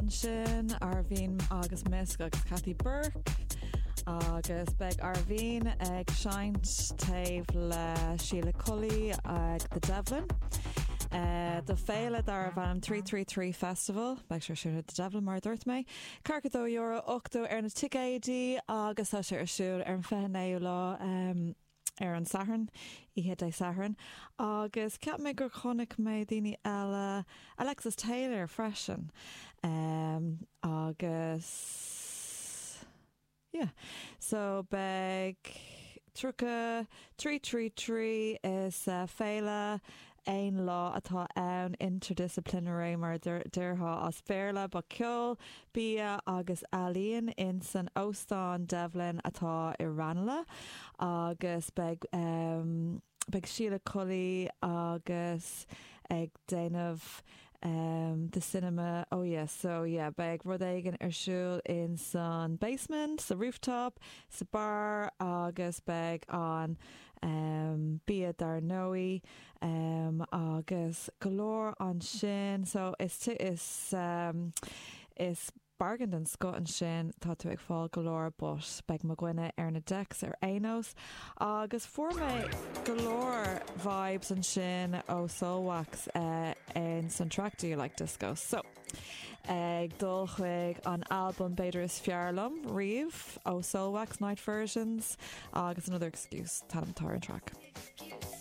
ansin, Arvine agus Misk agus Kathy Burke. Agus beidh Arvine ag seinnt taobh le Sheila Cully ag The Devlin. Do féile darbh ainm 333 Festival, beidh sé ar siúl ag The Devlin mar a dúirt mé. €42 80 ar na ticéidí agus tá sé ar siúl ar an 29ú lá. ar an Satharn, oíche Dé Sathairn, agus cheap mé gur chonaic mé daoine eile, Alexis Taylor freisin, agus yeah, so beidh 30, 3 3 3 is féile aon lá atá ann, interdisciplinary mar a déarfá as Béarla, but ceol, bia agus ealaíon in san Óstán Devlin atá i Ranelagh agus beidh beidh Sheila Cully agus ag déanamh the cinema oh yeah so yeah beidh rud éigin ar siúl in san basement, sa rooftop, sa bar agus beidh an bia dar ndóigh agus go leor ansin so is is is bargain den scoth ansin tá tú ag fáil go leor but beidh mo dhuine ar na decks ar aon nós agus fuair mé go leor vibes ansin ó Soulwax in san track Do You Like Disco so ag dul chuig an albam b'fhéidir is fearr liom riamh ó Soulwax Night Versions agus Another Excuse an t-ainm atá ar an track.